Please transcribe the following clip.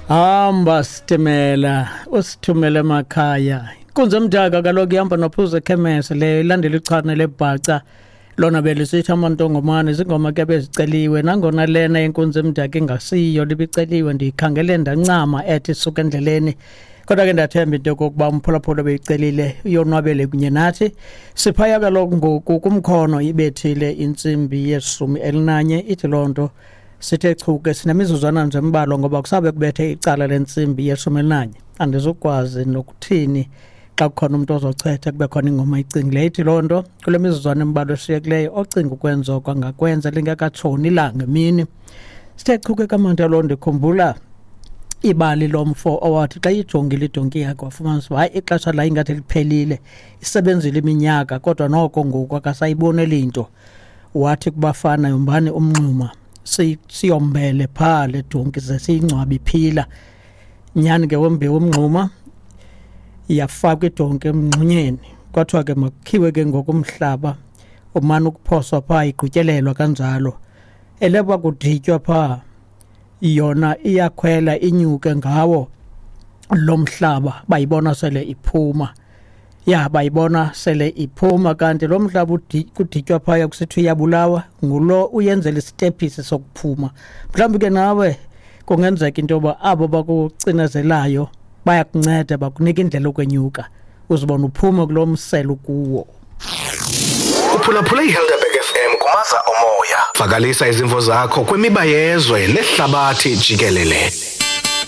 Hamba sitimela usithumele emakhaya. Inkunzi emdaka kaloku ihamba nophuza ekhemese le ilandela ichane lebhaca lona belisithi amantongomane zingoma ke beziceliwe nangona lena yenkunzi emdaka ingasiyo libiceliwe ndiyikhangele ndancama ethi suka endleleni kodwa ke ndiyathemba into yokokuba umphulaphula beyicelile uyonwabele kunye nathi. Siphaya kaloku ngoku kumkhono ibethile intsimbi yeshumi elinanye ithi loo nto sithe chu ke sinemizuzwana nje embalwa ngoba kusabe kubethe icala lentsimbi yeshumi elinanye. Andizukwazi nokuthini xa kukhona umntu ozochetha kube khona ingoma ayicingileyo. Ithi loo nto kule mizuzwana embalwa eshiyekileyo ocinga ukwenza oko angakwenza lingekatshoni ilanga emini. Sithe chu ke kamanta loo ndikhumbula ibali lomfo owathi xa ijongile idonki yakhe wafumanisa uba hayi ixesha layo ingathi liphelile, isebenzile iminyaka kodwa noko ngoku akasayiboneli nto. Wathi kubafana yombani umngxuma siyombele phaa le donki ze siyingcwabe iphila. Nyhani ke wombiwa umngxuma yafakwa idonki emngxunyeni, kwathiwa ke makukhiwe ke ngoku umhlaba umane ukuphoswa phaa igqityelelwa kanjalo. Eleba kuditywa phaa yona iyakhwela inyuke ngawo lo mhlaba bayibona sele iphuma. Ya bayibona sele iphuma kanti lo mhlaba kuditywa phaya kusithiwa iyabulawa ngulo uyenzela isitephisi sokuphuma. Mhlawumbi ke nawe kungenzeka into yoba abo bakucinezelayo bayakunceda bakunika indlela yokwenyuka uzibona uphume kulo msele ukuwo. Uphulaphule iHelderberg FM kumaza omoya. Vakalisa izimvo zakho kwimiba yezwe nehlabathi jikelele.